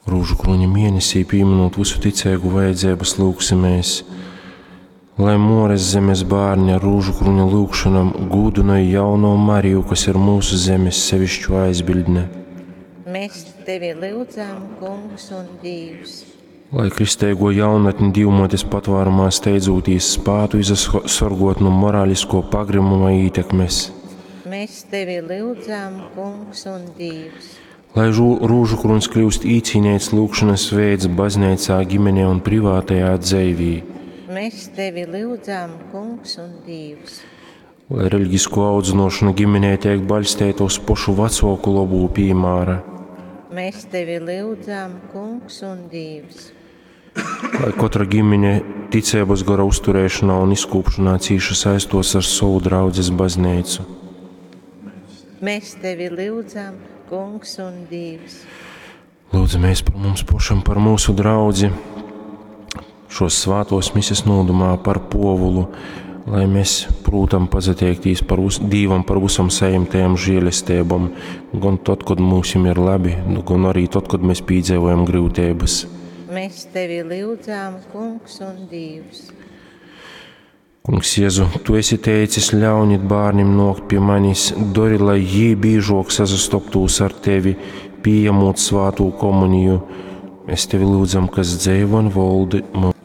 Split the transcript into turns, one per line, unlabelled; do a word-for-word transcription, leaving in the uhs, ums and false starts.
Rūžu krūņa mēnesī pīminūt vysu ticeigu vajadzeibys lyugsimēs, lai Muores zemes bārni ar rūžu krūņa lyugšonom gūdynoj jauno Mariju, kas ir mūsu zemes sevišķu aizbildne.
Mēs tevi lyudzam, Kungs un Dīvs.
Lai kristeigo jaunatni Dīvmuotes patvārumā steidzūtīs spātu izasorgot nu morālisko pagrimuma ītekmes.
Mēs tevi lyudzam, Kungs un Dīvs.
Lai rūžu krūņs kļūst īcīneits lūgšanas veids bazneicā, ģimenē un privātajā dzeivī.
Mēs tevi lyudzam, Kungs un Dīvs.
Lai reliģisko audzinošana ģimenē tiek baļsteita uz pošu vacuoku lobū pīmāra.
Mēs tevi lyudzam, Kungs un Dīvs.
Lai katra ģimene ticības gora uzturēšanā un izkūpšanā cīši saistos ar savu draudzes baznīcu.
Mēs tevi lyudzam, Kungs un Dīvs.
Lūdzamies par mums pašam, par mūsu draudzi, šos svātos mises nūdumā par Povulu, lai mēs prūtam pazateiktīs par us, Dīvam par visom saimtajām žēlestībām, gan tad, kad mūsim ir labi, nu, gan arī tad, kad mēs pīdzīvojam grūtības.
Mēs tevi lyudzām, Kungs un Dīvs.
Kungs Jēzu, tu esi teicis, ļaunit bērnim nokt pie manis, dori, lai jī bīžok sasastoptūs ar tevi, pieņemot svātū komuniju. Mēs tevi lūdzam, kas dzeivo un voldi mūsu.